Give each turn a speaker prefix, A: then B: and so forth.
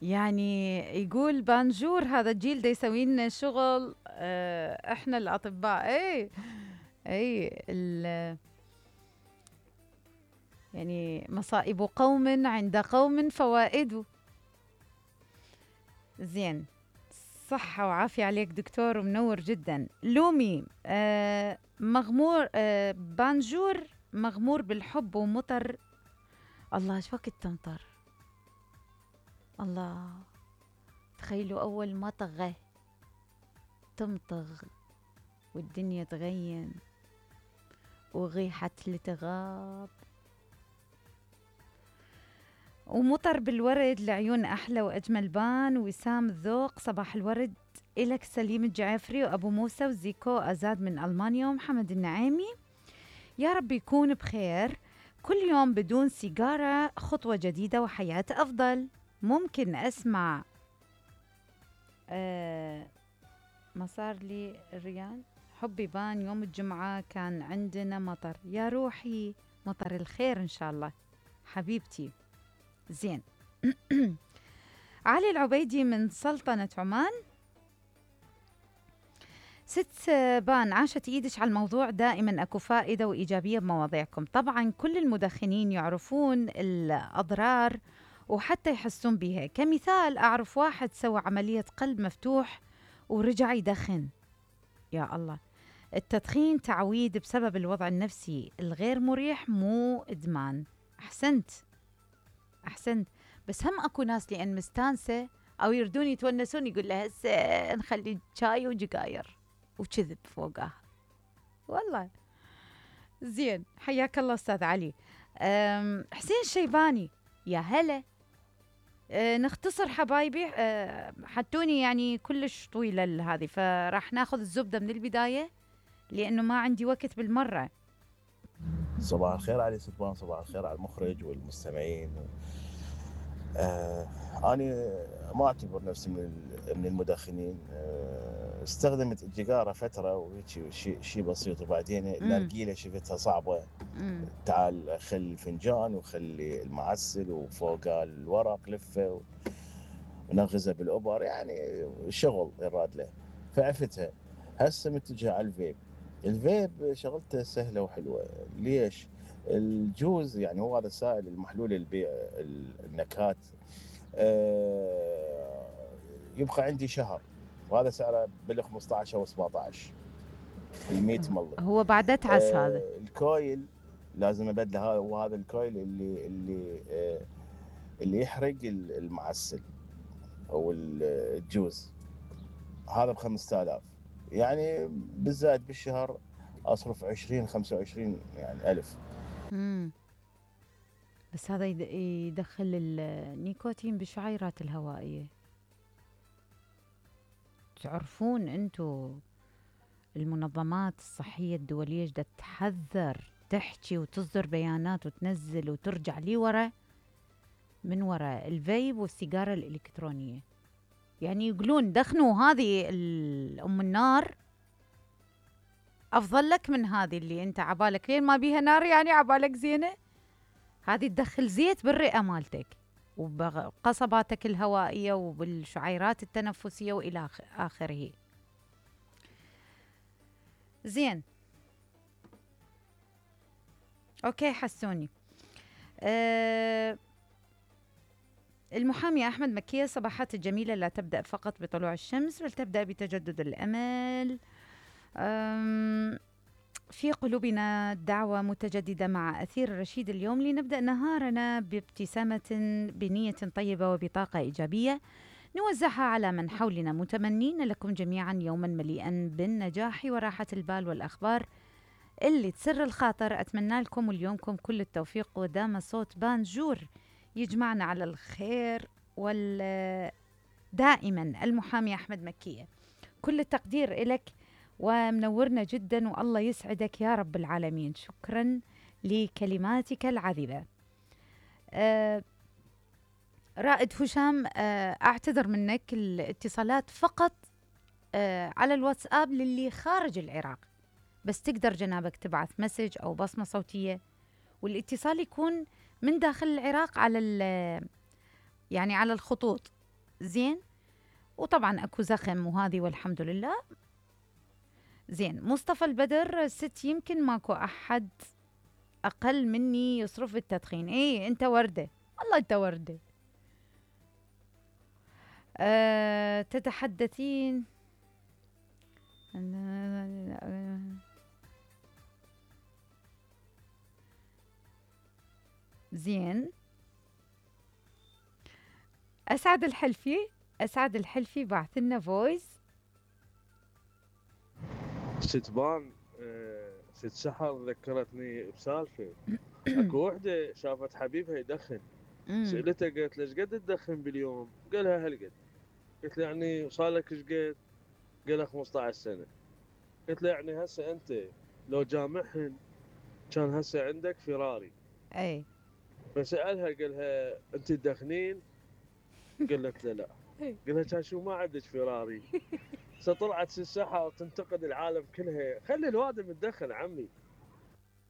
A: يعني يقول بانجور هذا الجيل دا يسوي لنا شغل، احنا الاطباء. اي يعني مصائب قوم عند قوم فوائد. زين. صحة وعافية عليك دكتور ومنور جدا. لومي مغمور، بانجور مغمور بالحب ومطر. الله ايش وقت تمطر. الله، تخيلوا أول ما طغى تمطغ والدنيا تغيم وغيحة لتغاب، ومطر بالورد لعيون أحلى وأجمل بان. وسام الذوق صباح الورد إلك سليم الجعفري وأبو موسى وزيكو أزاد من ألمانيا ومحمد النعيمي. يا رب يكون بخير. كل يوم بدون سيجارة خطوة جديدة وحياة أفضل. ممكن أسمع ما صار لي ريال حبي بان يوم الجمعة كان عندنا مطر. يا روحي مطر الخير إن شاء الله حبيبتي. زين. علي العبيدي من سلطنة عمان. ست بان عاشت ايدش على الموضوع. دائما اكو فائدة وإيجابية بمواضيعكم. طبعا كل المدخنين يعرفون الأضرار وحتى يحسون بها. كمثال أعرف واحد سوى عملية قلب مفتوح ورجع يدخن. يا الله. التدخين تعويد بسبب الوضع النفسي الغير مريح، مو إدمان. أحسنت. بس هم أكو ناس لأن مستانسة أو يردون يتونسون يقول لها هسه نخلي شاي وجقاير وكذب فوقها. والله. زين. حياك الله أستاذ علي. حسين الشيباني. يا هلا. نختصر حبايبي. حتوني يعني كلش طويلة هذه، فراح ناخذ الزبدة من البداية لأنه ما عندي وقت بالمرة.
B: صباح الخير علي سلطان، صباح الخير على المخرج والمستمعين. أنا ما أعتبر نفسي من المدخنين. استخدمت الجيجارة فترة وهيك شيء بسيط، وبعدين النرجيلة شفتها صعبة. تعال خلي الفنجان وخلي المعسل وفوق الورق لفه ونغزه بالأبر، يعني شغل يراد له، فعفتها. هسه متجه على الفيب. الفيب شغلته سهلة وحلوة. ليش؟ الجوز يعني هو هذا السائل المحلول النكهات. يبقى عندي شهر، وهذا سعره بال 15 او 17 ال 100 ملي.
A: هو بعد اتعس هذا.
B: الكويل لازم ابدله. وهذا الكويل اللي يحرق المعسل او الجوز، هذا ب 5000. يعني بالزائد بالشهر اصرف 20 25 يعني الف.
A: بس هذا يدخل النيكوتين بالشعيرات الهوائية. تعرفون انتو المنظمات الصحية الدولية جدا تحذر، تحكي وتصدر بيانات وتنزل وترجع لي ورا من وراء الفيب والسيجارة الإلكترونية. يعني يقولون دخنوا هذه أم النار أفضل لك من هذه اللي أنت عبالك لين ما بيها نار، يعني عبالك زينة. هذه تدخل زيت بالرئة مالتك وبقصباتك الهوائية وبالشعيرات التنفسية وإلى آخره. زين. أوكي حسوني. المحامي أحمد مكية. صباحات الجميلة لا تبدأ فقط بطلوع الشمس بل تبدأ بتجدد الأمل. في قلوبنا دعوة متجددة مع أثير رشيد اليوم لنبدأ نهارنا بابتسامة بنية طيبة وبطاقة إيجابية نوزعها على من حولنا، متمنين لكم جميعا يوما مليئا بالنجاح وراحة البال والأخبار اللي تسر الخاطر. أتمنى لكم وليومكم كل التوفيق، ودام صوت بانجور يجمعنا على الخير دائما. المحامي أحمد مكية. كل التقدير إلك ومنورنا جدا والله يسعدك يا رب العالمين. شكرا لكلماتك العذبة. رائد هشام، أعتذر منك الاتصالات فقط على الواتساب للي خارج العراق، بس تقدر جنابك تبعث مسج أو بصمة صوتية، والاتصال يكون من داخل العراق على يعني على الخطوط زين. وطبعا اكو زخم وهذه والحمد لله. زين. مصطفى البدر، ست يمكن ماكو احد اقل مني يصرف بالتدخين. ايه انت ورده، والله انت ورده. تتحدثين زين. اسعد الحلفي بعث لنا فويس.
C: ستبان ست سحر ذكرتني بسالفه. اكو وحده شافت حبيبها يدخن، سالته قالت له ايش قد تدخن باليوم؟ قالها هالقد. قلت له يعني صار لك ايش قد؟ قالها 15 سنه. قلت له يعني هسه انت لو جامعهن كان هسه عندك فيراري.
A: اي.
C: فسالها قالها انت تدخنين؟ قالت له لا. قالها كان شو ما عندك فيراري؟ طلعت الساحه وتنتقد العالم كلها. خلي الوادم تدخن عمي.